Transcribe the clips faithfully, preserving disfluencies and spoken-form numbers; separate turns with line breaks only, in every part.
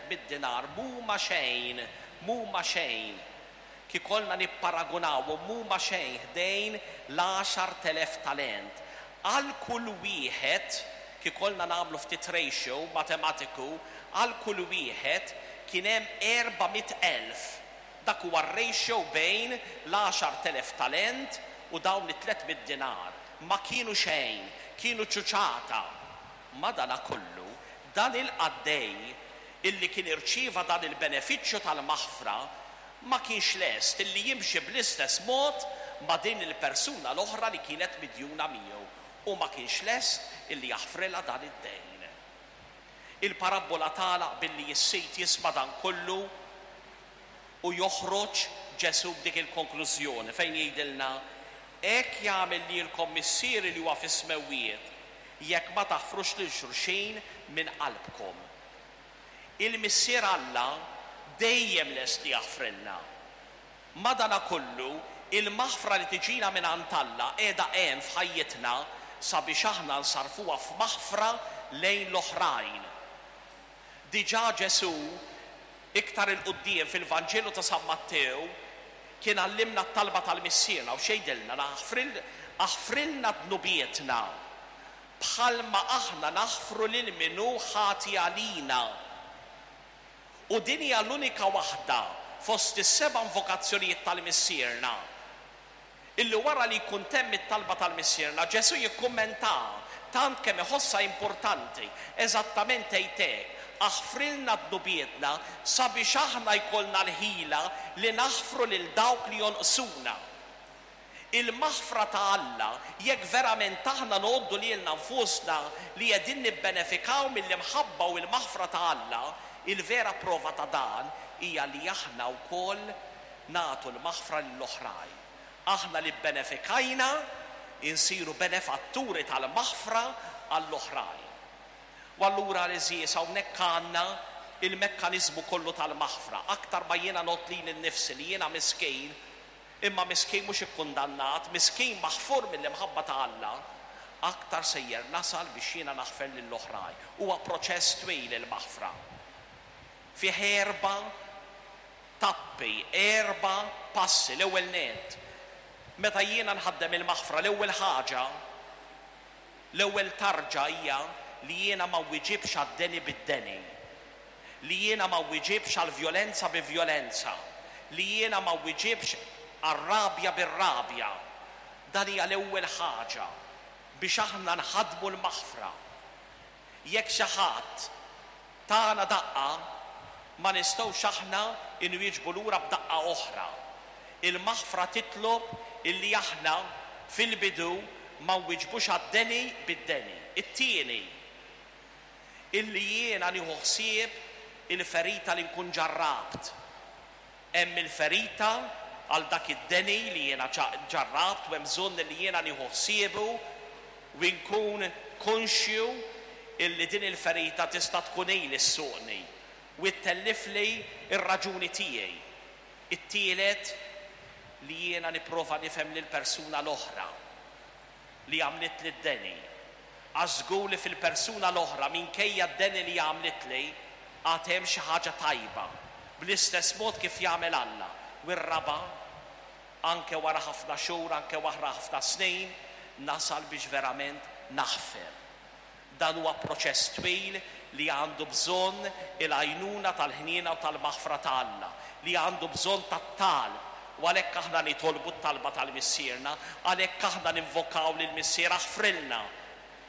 tliet mitt dinar mhuma xejn, mhuma xejn. Kieku kellna nipparagunawhom, mhuma xejn ħdejn l-għaxart elef talent. Għal kull wieħed, kieku kellna nagħmlu ftit ratio matematiku, għal kull wieħed kien hemm erba' mitt elf. Dak huwa r-ratio bejn l-għaxart elef talent u dawn it-tliet mitt dinar. Ma kienu xejn, kienu ċuċata. Madanakollu, dan il-qaddej illi kien irċieva dan il-benefiċċju tal-maħfra ma kienx lest illi jimxi bl-istess mod ma' din il-persuna l-oħra li kienet midjuna miegħu u ma kienx lest illi jaħfrilha dan id-dejn. Il-parabbola tagħlaq billi s-sid jisma' dan kollu u joħroġ Ġesù b'dik il-konklużjoni fejn jgħidilna: hekk jagħmel lilkom Missieri li huwa fis-smewwiet jekk ma taħfrux lil xulxin minn qalbkom. Il-Missier Alla dejjem lest li jaħfrilna. Madanakollu, il-maħfra li tiġina minn għand Alla qiegħda hemm f'ħajjitna sabiex aħna nsarfuha f'maħfra lejn l-oħrajn. Diġà Ġesù iktar 'il quddiem fil-Vanġelu ta' San Mattew kien għallimna t-talba tal-Missierna u x'jgħidilna? Aħfrilna dnubietna bħalma aħna naħfru lil min hu ħati għalina. U din hija l-unika waħda fost is-seba' invokazzjonijiet tal-Missierna illi wara li jkun temm it-talba tal-Missierna Ġesù jikkummenta tant kemm iħossha importanti, eżattament tgħid hekk: aħfrilna dnubietna sabiex aħna jkollna l-ħila li naħfru lil dawk li jonqsuna. Il-maħfra ta' Alla, jekk verament aħna ngħoddu lilna nfusna li qegħdin nibbenefikaw mill-imħabba u l-maħfra ta' Alla, il-vera prova ta' dan hija li aħna wkoll nagħtu l-maħfra lill-oħrajn. Aħna li bbenefikajna insiru benefatturi tal-maħfra għall-oħrajn. U allura għeżież, hawnhekk għandna il-mekkaniżmu kollu tal-maħfra. Aktar ma jiena ngħodd lili nnifsi li jiena miskin, imma miskin mhux ikkundannat, miskin maħfur mill-imħabba ta' Alla, aktar sejjer nasal biex jiena naħfer lill-oħrajn. Huwa proċess twil il-maħfra. Fih erba' tappi, erba' passi. L-ewwel nett, meta jiena nħaddem il-maħfra, l-ewwel ħaġa, l-ewwel tarġa hija li jiena ma wieġibx għad-deni bid-deni, li jiena ma wieġibx għall-vjolenza bi vjolenza, li jiena ma wieġibx għar-rabja bir-rabja. Dan hija l-ewwel ħaġa biex aħna nħadmu l-maħfra. Jekk xi ħadd tagħna daqqa, ma nistgħux aħna inwieġbu lura b'daqqa oħra. Il-maħfra titlob illi aħna fil-bidu ma nwieġbux għad-deni bid-deni. It-tieni, illi jiena nieħu ħsieb il-ferita li nkun ġarrabt. Hemm il-ferita għal dak id-deni li jiena ġarrabt u hemm bżonn li jiena nieħu ħsiebu u nkun konxju illi din il-ferita tista' tkun ili ssuqni u ttellifli r-raġuni tiegħi. It-tielet, li jiena nipprova nifhem lill-persuna l-oħra li għamlet li d-deni. Għax żgur li fil-persuna l-oħra minkejja d-deni li għamlet li għad hemm xi ħaġa tajba, bl-istess mod kif jagħmel Alla. U r-raba', anke wara ħafna xhur, anke wara ħafna snin, nasal biex verament naħfer. Dan huwa proċess twil li għandu bżonn il-għajnuna tal-ħniena u tal-maħfra ta' Alla, li għandu bżonn tat-talb. U għalhekk aħna nitolbu t-talba tal-Missierna, għalhekk aħna ninvokaw lil Missier aħfrilna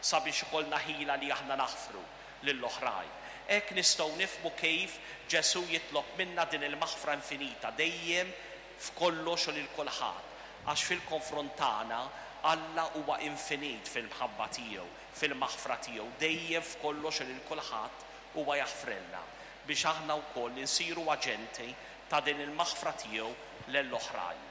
sabiex ikollna ħila li aħna naħfru lill-oħrajn. Hekk nistgħu nifhmu kif Ġesù jitlob minna din il-maħfra infinita dejjem f'kollox u lil kulħadd, għax fil-konfront tagħna Alla huwa infinit fil-mħabba tiegħu, fil-maħfra tiegħu, dejjem f'kollox u lil kulħadd huwa jaħfrilna biex aħna wkoll insiru aġenti ta' din il-maħfra tiegħu lill-oħrajn.